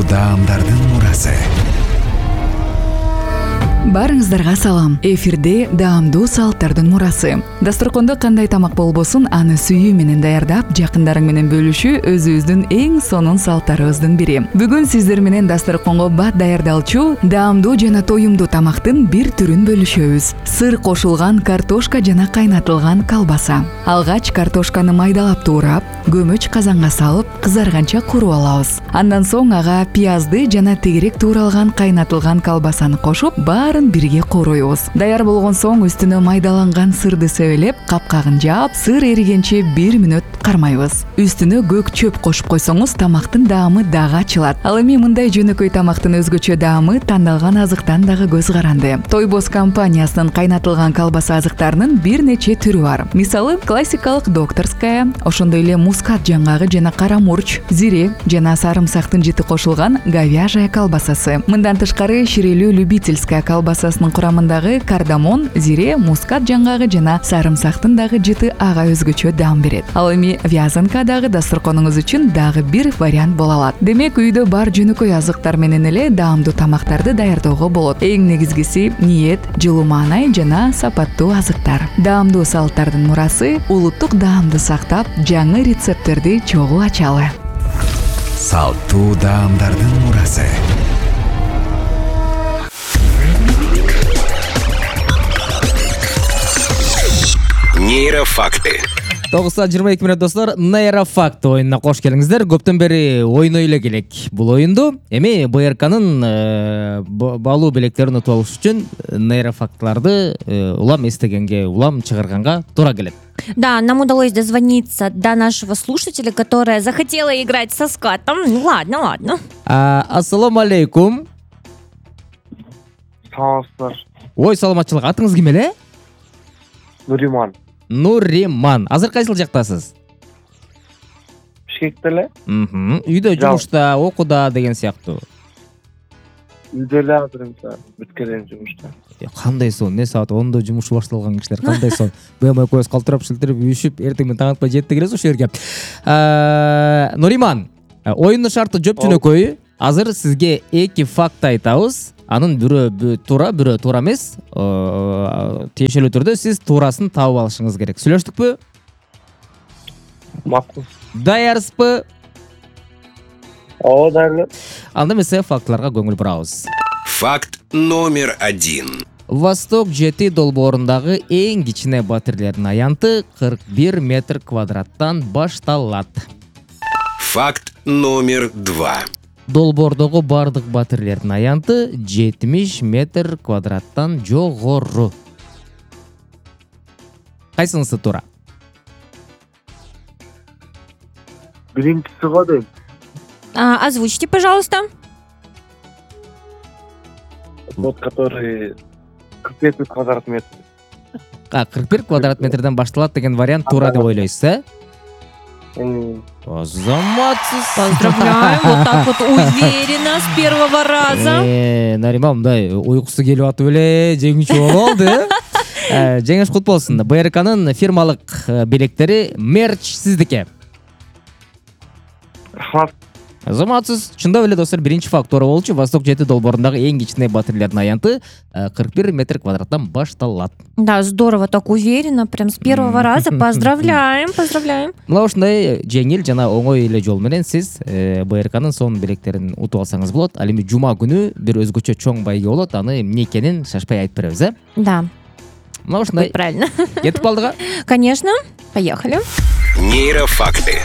даамдардын мурасы. Барыңыздарга салам. Эфирде даамдуу салттардын мурасы. Дасторкондо кандай тамак болбосун, аны сүйүү менен даярдап, жакындарың менен бөлүшүү өзүбүздүн эң сонун салттарыбыздын бири. Бүгүн сиздер менен дасторконго бат даярдалчу, даамдуу жана тоюмдуу тамактын бир түрүн бөлүшөбүз. Сыр кошулган картошка жана кайнатылган колбаса. Алгач картошканы майдалап туурап, көмөч казанга салып, кызарганча куруп алабыз. Андан соң ага пиязды жана тегерек тууралган кайнатылган колбасаны кошуп, баарын бирге корообуз. Даяр болгон соң үстүнө майдаланган сырды себелеп, капкагын жаап, сыр эригенче 1 мүнөт кармайбыз. Үстүнө көк чөп кошуп койсоңуз, тамактын даамы дагы ачылат. Ал эми мындай жөнөкөй тамактын өзгөчө даамы тандалган азыктан дагы көз каранды. Тойбоз компаниясынын кайнатылган колбаса азыктарынын бир нече түрү бар. Мисалы, классикалык докторская, ошондой эле мускат жаңгагы жана кара мурч, зире жана сарымсактын жыты кошулган говяжья колбасасы. Мындан тышкары ширелүү любительская колбасасынын курамындагы кардамон, зире, мускат жаңгагы жана сарымсактын дагы жыты ага өзгөчө даам берет. Ал эми вязанка дагы дасторконуңуз үчүн дагы бир вариант боло алат. Демек, үйдө бар жөнөкөй азыктар менен эле даамдуу тамактарды даярдоого болот. Эң негизгиси ниет, жылуу маанай жана сапаттуу азыктар. Даамдуу салттардын мурасы улуттук даамды сактап, жаңы рецепттерди чогуу ачалы. Салттуу даамдардын мурасы. Нейрофакты. 9:22 достор, Нейрофакт оюнуна кош келиңиздер. Көптөн бери ойной эле келек бул оюнду. Эми БРКнын баалуу билектерин утуп алыш үчүн нейрофактларды улам эстегенге, улам чыгарганга туура келет. Да, нам удалось дозвониться до нашего слушателя, которая захотела играть со скатом. Ну ладно. Ассаламу алейкум. Саламатсыздар. Ой, саламатчылык. Атыңыз ким эле? Нуриман. Азыр кайсыл жактасыз? Бишкекте эле. Үйдө, жумушта, окууда деген сыяктуу. Үйдө эле азыр бүткөн жумушта. Кандай сон? Не саат 10-до жумушу башталган кишилер кандай сон? Бөм экөөбүз калтырап, шилтирип, үйүшүп, эртең менен таң атпай жетти келебиз ошол жерге. Нуриман, оюндун шарты жоп жөнөкөй. Азыр сизге 2 факт айтабыз. Анын бирөө туура, бирөө туура эмес. Тиешелүү түрдө сиз туурасын таап алышыңыз керек. Сүйлөштүкпү? Макул. Даярсызбы? Ооба, даяр. Анда эмесе фактларга көңүл бурабыз. Факт номер 1. Восток жети долбоорундагы эң кичине батирлердин аянты 41 метр квадраттан башталат. Факт номер 2. Долбоордогу бардык батирлердин аянты 70 метр квадраттан жогору. Кайсынысы туура? Биринчиси го дейм. Озвучьте, пожалуйста. Вот который 45 квадрат метр. 41 квадрат метрден башталат деген вариант туура деп ойлойсуз, э? Заматсыз. Поздравляем, вот так вот уверенно с первого раза. Нариман мындай уйкусу келип атып эле жеңүүчү болуп алды. Жеңиш кут болсун. БРКнын фирмалык билектери мерч сиздики. Рахмат. Заматсыз. Чындап эле достор, биринчи факт туура болчу. Восток жети долбоорундагы эң кичине батирлердин аянты 41 метр квадраттан башталат. Да, здорово, так уверенно, прям с первого раза. Поздравляем. Мына ушундай жеңил жана оңой эле жол менен сиз БРКнын сонун билектерин утуп алсаңыз болот. Ал эми жума күнү бир өзгөчө чоң байге болот. Аны эмне экенин шашпай айтып беребиз, э? Да. Мына ушундай. Правильно. Кетип калдык. Конечно. Поехали. Нейрофакты.